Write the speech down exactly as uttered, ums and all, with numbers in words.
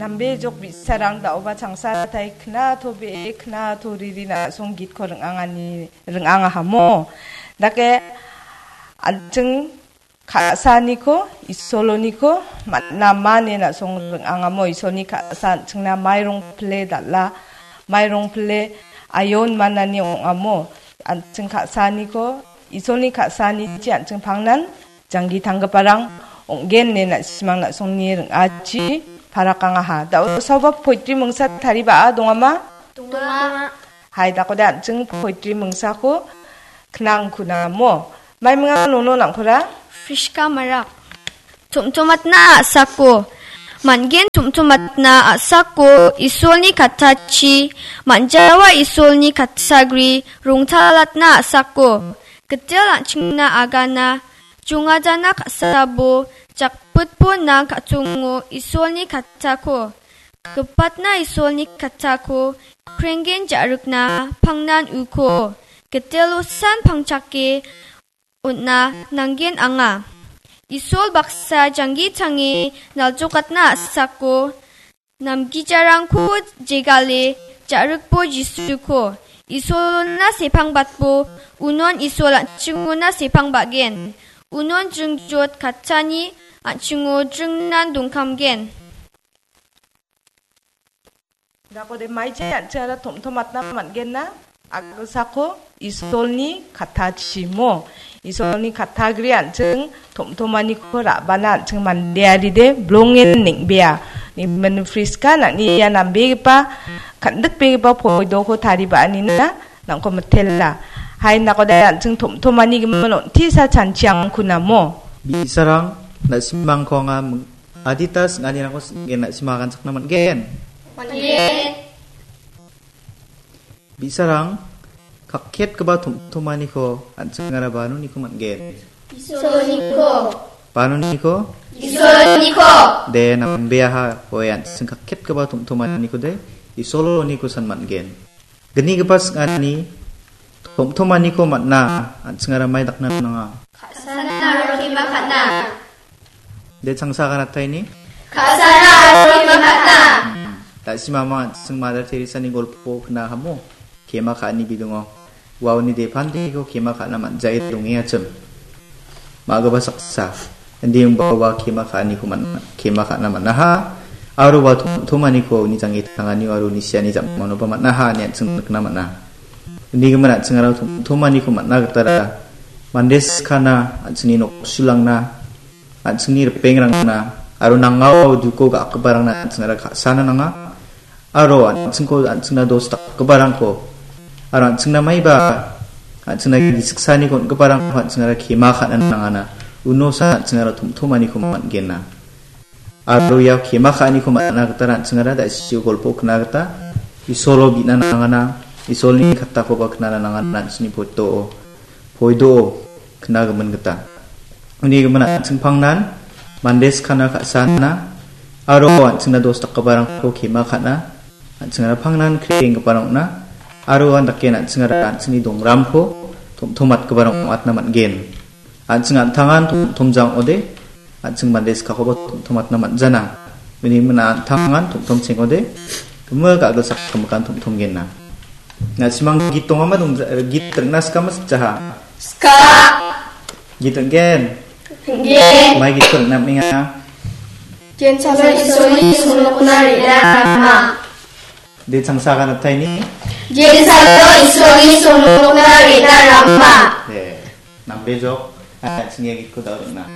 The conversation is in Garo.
Nambe jok bi·sarang da·oba changsa tai kna to be kna to riri na·song gitko ring·angani ring·angahamo. Dake an·ching ka·saaniko, Isoloniko man·a ma ine na·song ring·angamo. Isolni ka·sa an·chingna mairong pile dal·a, mairong pile ayon manani ong·amo. An·ching ka·saaniko, Isolni ka·saanichi an·ching pangnan janggi tanggiparang ong·gen ine na·simang na·songni ring·achi parakangaha. Da·o saoba poetry mingsa tariba·a dongama? Donga. Hai, dakode an·ching poetry mingsako knang kunamo. Maiminga nono nangkora? Friska Marak. Tom·tomatna a·sako. Man·gen tom·tomatna a·sako Isolni kattachi, man·jawa Isolni kattagri rongtalatna a·sako. Gitel an·chingna agana, jongajana ka·sabo, jakpitbo nang ka·tongo Isolni kattako. Gipatna Isolni kattako, krenggen ja·rikna pangnan uko. Gitelosan pangchake on·na nanggen anga. Isol baksa janggi tange naljokatna a·sako, namgijarangko jegale ja·rikbo Jisuko. Isolona sepangbatbo, unon Isol an·chingona sepangbagen. Unon jringjot kattani an·chingo jringnan dongkamgen. Dakode maiche an·ching aro tom·tomatna man·genna, a·gilsako Isolni kattachimo. Isolni kattagri an·ching tom·tomaniko ra·bana an·ching mandearide blongen neng·bea. Nimin Friska nang·ni ia nambegipa, kan·dikbegipa poidoko tariba·anina nangko mitela. Hai dakode an·ching tom·tomani gimin on·tisa chanchiangko namo. Bi·sarang, na·simangko anga ming-, adita sing·anirangko sing·gen, na·sima aganchakna man·gen. Man·gen. Bi·sarang, kakketgipa tom·tomaniko an·chingara banoniko man·gen. Isoloniko. Banoniko? Isoloniko. De, nambeaha, oe, an·ching kakketgipa tom·tomaniko de, Isoloniko san man·gen. Gnigipa sing·ani, tom·tomaniko man·a, an·chingara mai dakna nanga. Ka·sana aro kema ka·na. De changsa aganataini? Ka·sana aro kema ka·na. Hmm. Da·simamang an·ching Mother Teresa-ni golpo knahamo, kema ka·ani bidingo. Uaoni depantiko kema ka·na man·jae dongengachim. Ma·gipa saksa. Indi ong·ba ua kema ka·aniko man-, kema ka·na man·aha. Aro ua tom-, tomaniko uni janggi tanganio aro uni siani jam·manoba man·aha ine an·ching nikna man·a. Uni gimin an·ching aro tom-, tomaniko man·a gitara mande skana an·chingni noksulangna, an·chingni ripengrangna, aro nangao duko ga·giparangna an·chingara ka·sana nanga. Aro an·chingko, an·chingna dos dakgiparangko, aro an·chingna maiba, an·chingna gisiksaniko on·giparangko an·chingara kema ka·na nangana. Unosa an·chingara tom-tomaniko man·gena. Aro ia kema ka·aniko man·na gita an·chingara da·sio golpo kna gita Isolo bi·na nangana, Isolni kattakoba knana nangana an·chingni poto-, poido-o knagimin gita. Uni gimin an·ching pangnan mande skana ka·sana aro an·chingna dos dakgiparangko kema ka·na, an·chingara pangnan kre·enggiparang ong·na, aro uan dake an·chingara an·chingni dongramko tom-tomatgiparang ong·atna man·gen. An·ching an·tangan tom-tomjang ong·ode, an·ching mande skakoba tom-tomatna man·jana. Uni gimin an·tangan tom-tomcheng ong·ode, gimik a·gilsak gimikan tom-tomgenna. Na·simang git dongama dongja-, git ring·na sikama sikjaha? Sika. Git ring·gen? Ring·gen. Mai gitko ring·na man·enga? Gensalo Isolni songnokna re·na rama. De changsa aganataini? Gensalo Isolni songnokna re·na rama. De, nambe jok, an·ching ia gitko da·o ring·na.